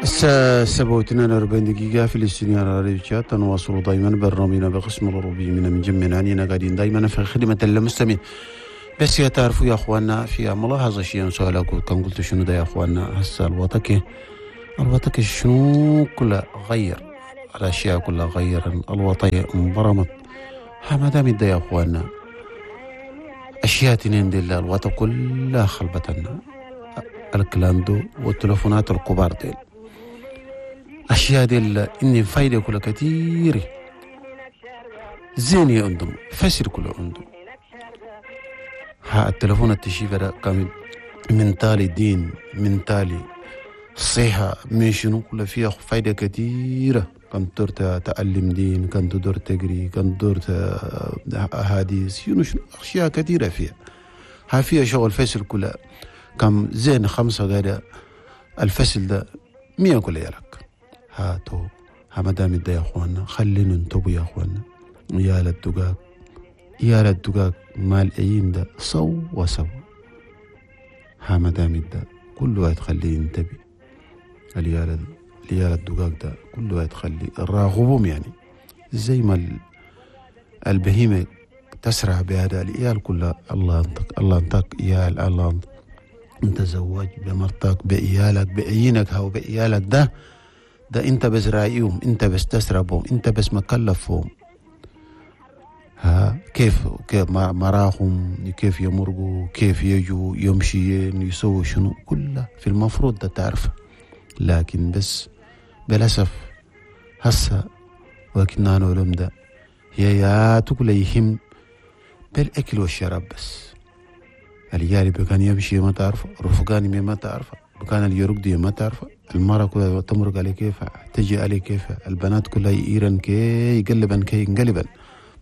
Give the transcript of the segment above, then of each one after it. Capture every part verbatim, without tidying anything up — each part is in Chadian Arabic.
الساعة سبعة واثنين وأربعين دقيقة في الاستوديو على راديو تشاد. نواصل دائما برنامجنا بقسم الأوروبي من من جمعنا عنينا قاعدين دائما في خدمة المستمعين. بس يا تعرفوا يا أخواننا في ملاحظة شيء سؤال كان قلت شنو ده يا أخواننا، هسه الوطكي الوطكي شنو كلها غير الأشياء كلها غير الوطية انبرمت. ها ما دام ده يا أخواننا أشياء تنين دي الوطا كلها خلبتنا الكلاندو والتلفونات الكبار ديل أشياء ديل إني فايدة كلها كتير زين يا عندهم فسر كله عندهم. ها التلفون التشيفة ده كان من تالي دين من تالي صحة من شنو كلها فيها فايدة كتيرة. كان تدور تعلم دين، كان تدور تقري، كان تدور أحاديث، شنو شنو أشياء كثيرة فيها. ها فيها شغل فسر كلها كم زين خمسة غير الفصل ده مية كل يالك. هاتو ها مدام ده يا أخوانا خلينا ننتبه يا أخوانا. يا للدقاق يا للدقاق مال أيين ده سو وسو. ها مدام ده كل واحد خليه ينتبه. اليال اليال الدقاق ده كل واحد خليه راغبهم يعني زي ما البهيمة تسرع بهذا الإيال كلها. الله أنتك الله أنتك إيال الله أنتك انت زواج بمرتك بإيالك بعينك هاو بإيالك ده ده انت بس رايهم، انت بس تسربهم، انت بس مكلفهم. ها كيف كيف مراهم، كيف يمرقوا، كيف يجوا، يمشي يسووا شنو كله في المفروض ده تعرفه. لكن بس بالأسف هسه وكنا نعلم ده هي يا تقول يهم بالأكل والشراب بس. اليالي بكان يمشي ما تعرفه، رفقاني ما تعرفه، بكان اللي يرقد ما تعرفه، المرة كلها تمرق عليه كيف، تجي عليه كيف، البنات كلها يئيرن كي يقلبن كي ينقلبن،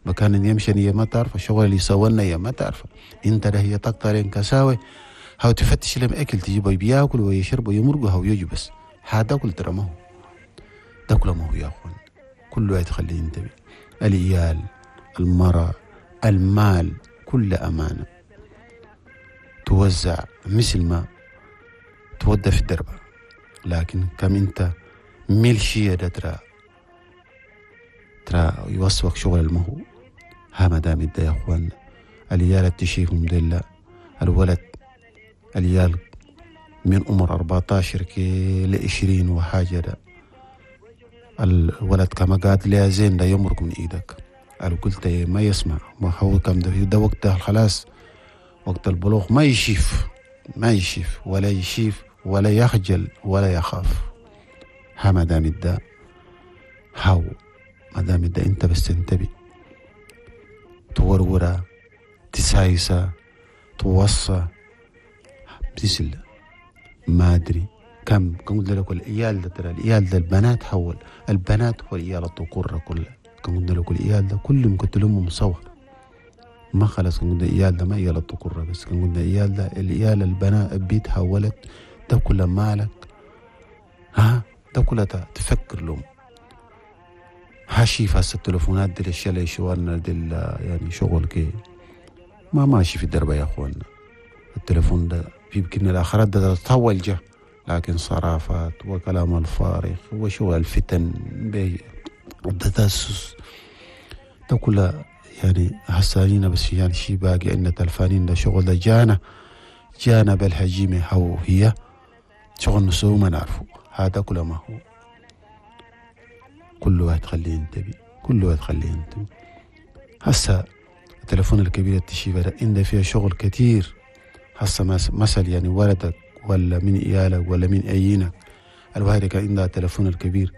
بكان يمشي ما تعرفه، الشغل اللي يسوينا يا ما تعرفه، انت ده هي تقطرين كساوي هاو تفتش لهم اكل تجيبه بياكل ويشرب ويمرق هاو يجي بس هذا كل ترى ما هو ده كله ما هو يا اخوان. كله يتخليه ينتبه. العيال، المرأة، المال، كل أمانة توزع مثل ما تودى في الدربة. لكن كم انت ميلشية ده ترى ترى يوصفك شغل المهو. ها ما دام ده يا اخوان العيال تشيهم ديلا الولد العيال من عمر أربعتاشر كي لعشرين وحاجة ده الولد كما قاد لها زين ده يمرق من ايدك. قلت ما يسمع ما هو كم ده ده وقتها خلاص وقت البلوغ ما يشيف ما يشيف ولا يشيف ولا يخجل ولا يخاف. ها ما دام ده هاو ما دام ده انت بس تنتبه تورورا تسايسا توصى بتسل ما ادري كم كم قلت لك العيال ده ترى العيال ده البنات حول البنات والعيال الذكور كلها كم قلت لك العيال ده كلهم كنت لهم سوا ما خلاص. كان قلنا عيال ده ما عيال الذكور بس، كان قلنا عيال ده العيال البنات البيت حولت ده كله مالك. ها ده كله تفكر لهم هاشي فاس التليفونات دي الاشياء اللي شوالنا دي يعني شغل كي ما ماشي في الدرب يا اخوانا. التليفون ده في يمكن الاخرات ده تطول جه، لكن صرافات وكلام الفارغ وشغل الفتن بالتدسس ده كله يعني حسانين بس يعني شي باقي عندنا تلفانين ده شغل ده جانا جانا بالهجيمة هو هي شغل نسوه ما نعرفه. هذا كله ما هو كل واحد خليه ينتبه كل واحد خليه ينتبه. هسا التلفون الكبير التشيفة ده عنده فيها شغل كتير. هسا مثل يعني ولدك ولا من إيالك ولا من أيينك الواحد كان عندها التلفون الكبير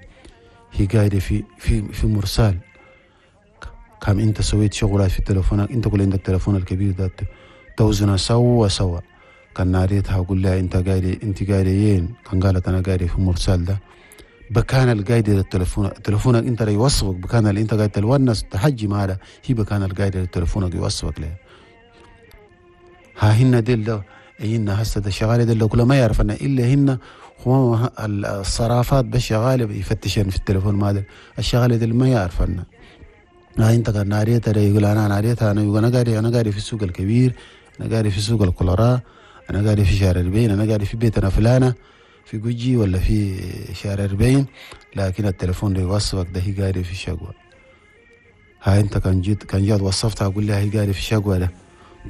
هي قاعدة في في في مرسال كم انت سويت شغلات في تلفونك انت كل عندك التلفون الكبير ده توزنه سوا سوا. كان ناريتها وقول لها انت قاعدة انت قاعدة وين؟ كان قالت انا قاعدة في مرسال ده بكان القايدة للتلفون تلفونك انت اللي يوصفك بكان اللي انت قاعد تلونس تحجي معها هي بكان القايدة للتلفونك يوصفك لها. ها هن ديل هن هسه ده شغالة ديل كله ما يعرف انا الا هن هو الصرافات بس شغالة يفتشن في التلفون ما ده الشغالة ديل ما يعرف انا. ها انت كان ناريتها يقول انا ناريتها انا يقول انا قاعد انا قاعد في السوق الكبير، انا قاعد في سوق الكولورا، انا قاعد في شارع البين، انا قاعد في بيتنا فلانه. في جوجي ولا في شارع أربعين، لكن التليفون اللي يوصفك ده هي قاعدة في الشقوة. هاي انت كان جيت كان جات وصفتها اقول لها هي قاعدة في الشقوة ده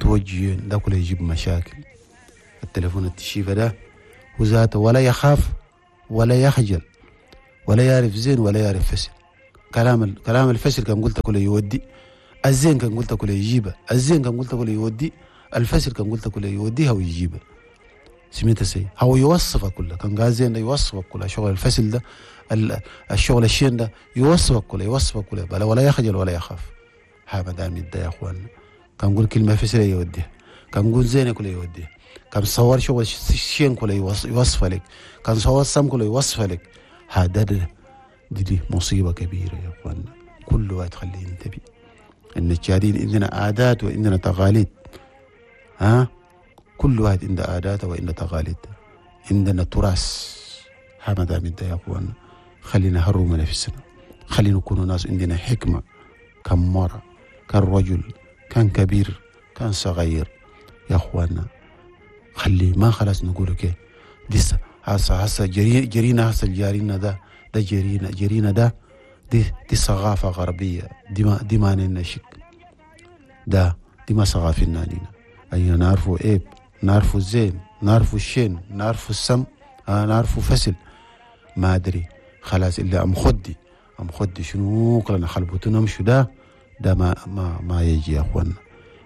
توجه ده كله يجيب مشاكل. التليفون التشيفة ده وذاته ولا يخاف ولا يخجل ولا يعرف زين ولا يعرف فسل. كلام كلام الفسل كان قلت كله يودي، الزين كان قلت كله يجيبه، الزين كان قلت كله يودي، الفسل كان قلت كله يوديها ويجيبه. سمعت سي هو يوصفك كله، كان قال زين ده يوصفك كله، شغل الفسل ده الشغل الشين ده يوصفك كله يوصفك كله بلا ولا يخجل ولا يخاف. ها ما دام يدي يا اخوان كان نقول كلمة فسل يوديها، كان نقول زين كله يوديها، كان صور شغل الشين كله يوصف لك، كان صور سم كله يوصف لك. هذا دي, دي مصيبة كبيرة يا اخوان. كل واحد خليه ينتبه ان التشادين عندنا عادات وعندنا تقاليد. ها كل واحد عنده عاداته وعنده تقاليد، عندنا تراث. ها ما دام انت يا اخوان خلينا نهرم نفسنا، خلينا نكون ناس عندنا حكمة. كم مرة كان رجل كان كبير كان صغير يا اخوانا، خلي ما خلاص نقول كده دي هسه هسه جري جرينا هسه الجارينا ده ده جرينا جرينا ده دي دي ثقافة غربية، دي ما دي ما لنا شك ده دي ما ثقافتنا لنا. أي نعرفوا عيب، نعرفوا الزين، نعرفوا الشين، نعرفوا السم، آه نعرفوا فسل ما أدري خلاص إلا أم خدي أم خدي شنو كلنا خلبوتنا مشوا ده ده ما ما ما يجي يا أخوانا.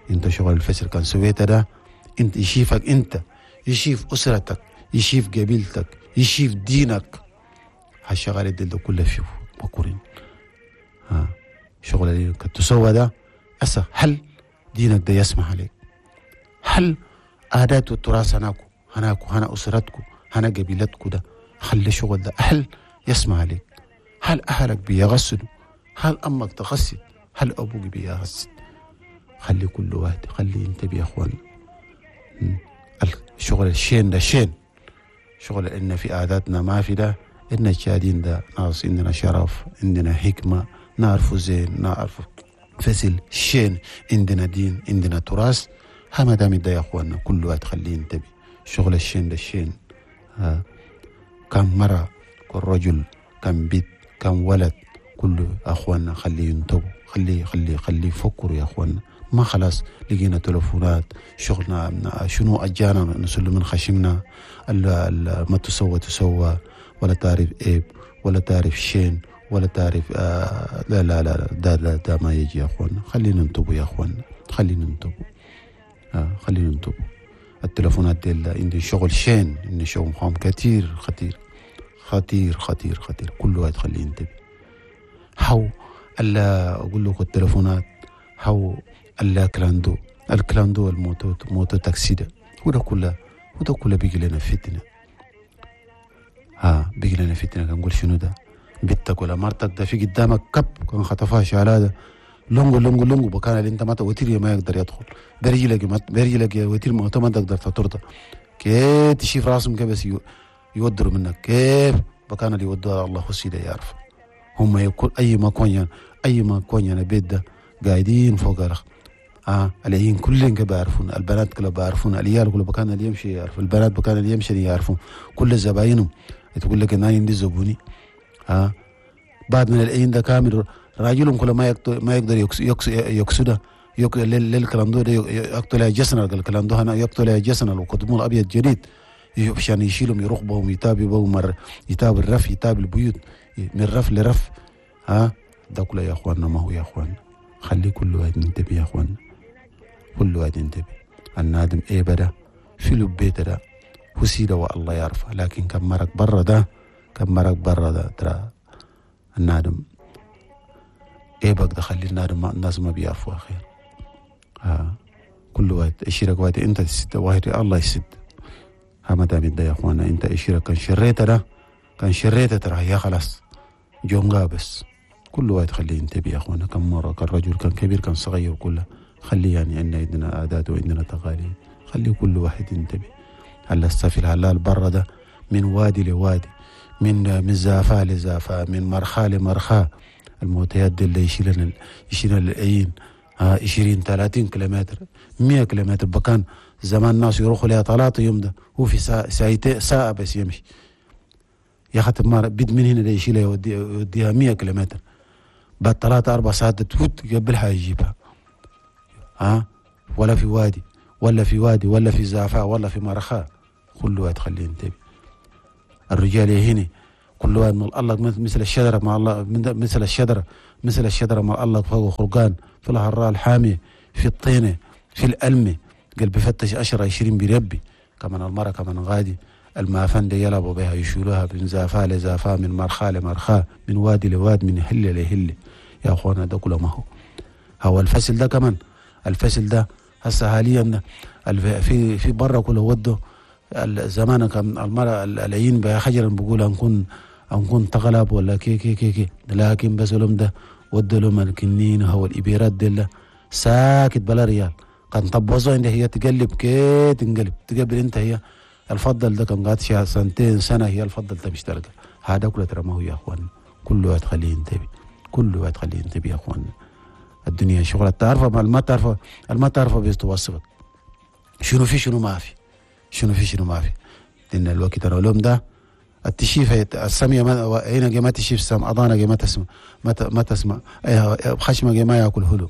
أنت شغل الفسل كان سويته ده أنت يشيفك، أنت يشيف أسرتك، يشيف قبيلتك، يشيف دينك. هالشغلة دي ده كلها فيه مكورين. ها شغل اللي تسوى ده أسا هل دينك ده يسمح عليك؟ هل عادات والتراث هناكو هناكو هنا أسرتكو هنا قبيلتكو ده خلي شغل ده هل يسمح عليك؟ هل أهلك بيغسلوا؟ هل أمك تغسل؟ هل أبوك بيغسل؟ خلي كل واحد خلي ينتبه يا أخوان. الشغل الشين ده شين شغل إن في عاداتنا ما في ده. إن الشادين ده ناس عندنا شرف، عندنا حكمة، نعرف زين، نعرف فسل شين، عندنا دين، عندنا تراث. ها ما دام ده يا أخواننا كل واحد خليه ينتبه. شغل الشين ده الشين. ها كم مرة كل رجل كم بيت كم ولد كله أخواننا خليه ينتبه، خليه خليه خليه يفكروا يا أخواننا. ما خلاص لقينا تلفونات شغلنا شنو أجانا نسلم من خشمنا ما تسوى تسوى ولا تعرف عيب ولا تعرف شين ولا تعرف آه لا لا لا ده ده, ده ما يجي يا أخوانا. خلينا ننتبه يا أخوانا، خلينا ننتبه، آه خلينا ننتبه. التلفونات دي عندي شغل شين، عندي شغل خام كتير خطير خطير خطير خطير. كل واحد خليه ينتبه. هاو ألا أقول لكم التلفونات هاو ألا clando ال clando ال moto moto taxi ده وده كله وده كله بيجي لنا فتنة. ها بيجي لنا فتنة. كنقول شنو ده بنتك ولا مرتك ده في قدامك كب كان خطفها شالها ده لونجو لونجو لونجو بكان اللي انت ما وتير ما يقدر يدخل برجلك ما برجلك يا وتير ما ما تقدر تطرده كيف تشيف راسهم كيف بس يودروا منك كيف بكان اللي يودوها الله خسيده يعرف هم يكون اي ما كون اي ما كون يعني بيت ده قاعدين فوق الرخ. اه العين كلهم بيعرفون، البنات كلها بيعرفون، العيال كلها بكان اللي يمشي يعرفون، البنات بكان اللي يمشي يعرفون، كل زباينهم تقول لك انا عندي زبوني. اه بعد من العين ده كامل راجلهم كله ما يقدر ما يقدر يقصده يق للكلام ده يقتل جسنا الكلام ده هنا يقتل جسنا وقدموا الابيض جديد عشان يشيلهم يرقبهم يتابعوا مر يتابع الرف يتابع البيوت من رف لرف. ها ده كله يا اخواننا ما هو يا اخواننا. خلي كل واحد ينتبه يا اخواننا، كل واحد ينتبه. النادم ايه بدا في لبيته ده وسيده والله يعرفه، لكن كم مرق برا ده كم مرق برا ده ترى النادم ايه بقى ده خلي النادم الناس ما بيعرفوها خير. ها كل واحد اشيرك واحد انت تسد واحد الله يسد. ها ما دام ده يا اخوانا انت اشيرك كان شريته ده كان شريته ترى يا خلاص جونغا بس. كل واحد خليه ينتبه يا اخوانا. كم مرة كان رجل كان كبير كان صغير كله خليه يعني عندنا عندنا عادات وعندنا تقاليد، خليه كل واحد ينتبه. هلا السفل هلا برا ده من وادي لوادي، من من زافة لزافة، من مرخاة لمرخاة. الموتيات دي اللي يشيلن يشيلن العين ها عشرين ثلاثين كيلومتر مية كيلومتر بكان زمان الناس يروحوا لها ثلاثة يوم ده هو في ساعة ساعة بس يمشي. يا خاطر ما بيد من هنا يشيلها يودي يوديها مية كيلومتر بعد ثلاثة أربع ساعات تفوت قبلها يجيبها. ها ولا في وادي ولا في وادي ولا في زعفاء ولا في مرخاء، كل واحد خليه ينتبه. الرجال يهني كل واحد من الله مثل الشجرة مع الله، مثل الشجرة مثل الشجرة مع الله فوق خرقان في الهراء الحامية في الطينة في الألمة قلب بفتش عشرة عشرين بربي. كمان المرة كمان غادي المافن دي يلعبوا بها يشيلوها من زافا لزافا من مرخاء لمرخاء من وادي لواد من هلة لهلة. يا اخوانا ده كله ما هو هو الفصل ده. كمان الفصل ده هسه حاليا في في برا كله وده زمان كان المرأة العين بها خجلا بقول أنكون أنكون تغلب ولا كي كي كي كي، لكن بس لهم ده ودوا لهم الكنين هو الإبيرات دي ساكت بلا ريال. كان طبوزوا عندها هي تقلب كي تنقلب تقبل انت هي الفضل ده كان قاعد شهر سنتين سنة هي الفضل ده مش تلقى. هذا كله ترى ما هو يا اخوان، كله واحد خليه ينتبه، كله واحد خليه ينتبه يا اخوان. الدنيا شغلة تعرفها ما ما تعرفها ما تعرفها بيتوصفك شنو في شنو ما في شنو في شنو ما في. لأن الوقت ترى اليوم ده التشيف السمية ما عينك ما تشيف سم أضانك ما تسمع ما ما تسمع خشمك ما ياكل هلو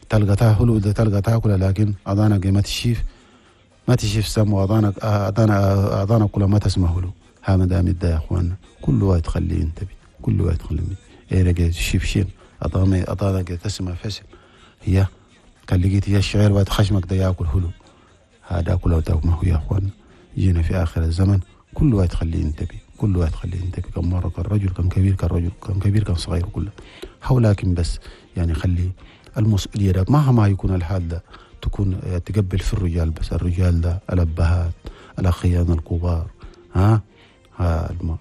تلقى تاكل ده تلقى تاكل، لكن أضانك ما تشيف ما تشيف سم وأضانك أضانك أضانك كلها ما تسمع هلو. ها ما دام يا اخواننا كل واحد خليه ينتبه، كل واحد خليه عينك تشيف شين أضانك أضانك تسمع فسل هي كان لقيت هي الشعير وقت خشمك ده ياكل هلو. هذا كله ما هو يا اخوان. جينا في اخر الزمن كل واحد خليه ينتبه، كل واحد خليه ينتبه. كم مرة كان رجل كان كبير كان رجل كان كبير كان صغير كله هو، لكن بس يعني خلي المسؤولية ده مهما يكون الحال ده تكون تقبل في الرجال بس. الرجال ده الأبهات الأخيان الكبار، ها ها الم...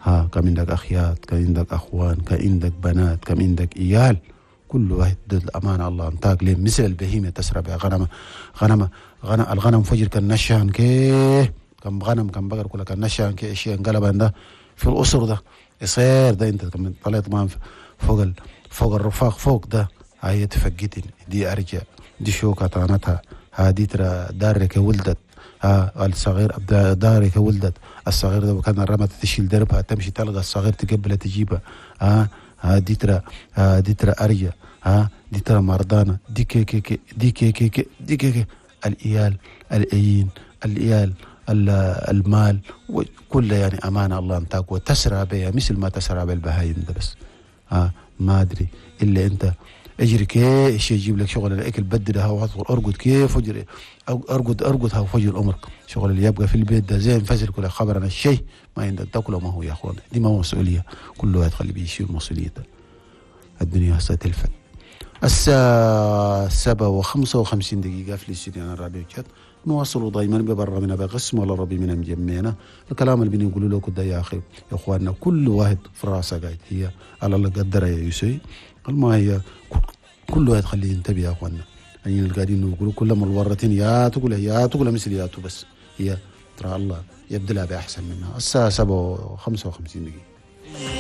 ها كم عندك أخيات كم عندك أخوان كم عندك بنات كم عندك إيال، كل واحد الأمانة الله أنتاك ليه مثل البهيمة تسرى بها غنم غنم غنم الغنم فجر كان نشان كيه كم غنم كم بقر كلها كان نشان كيه شيء انقلب عنده في الأسر ده يصير ده أنت كم طلعت ما فوق ال... فوق الرفاق فوق ده هاي تفقتني دي أرجع دي شوكة طعنتها هادي ترى دارك ولدت ها الصغير دارك ولدت الصغير ده وكان الرمت تشيل دربها تمشي تلقى الصغير تقبلها تجيبها ها هادي ترى هادي ترى أرجع ها دي ترى مرضانة دي كي كي كي دي كي كي كي دي كي كي الإيال الأيين الإيال المال كله يعني أمانة الله أنتاك وتسرى بها مثل ما تسرى بالبهايم ده بس ها ما أدري إلا أنت اجري كيف يجيب لك شغل الاكل بدلها وادخل ارقد كيف فجر ارقد ارقد ها فجر الامر شغل اللي يبقى في البيت ده زين فجر كل خبر انا الشيء ما عندك تاكله ما هو يا اخوان. دي ما هو مسؤولية، كل واحد خلي بيشيل مسؤوليته. الدنيا هسه تلفت. الساعة سبعة وخمسة وخمسين دقيقة في الاستديو الراديو شات. نواصل دائما ببرنامجنا بقسم ولا ربي من مجمعنا الكلام اللي بنقوله لكم ده يا اخي يا اخواننا كل واحد في راسه قاعد هي على الله قدر يا يسوي ما هي كل واحد خليه ينتبه يا اخواننا. يعني اللي قاعدين نقولوا كل ما الورتين يا تقول يا تقول مثل يا بس هي ترى الله يبدلها باحسن منها. الساعة سبعة وخمسة وخمسين دقيقة.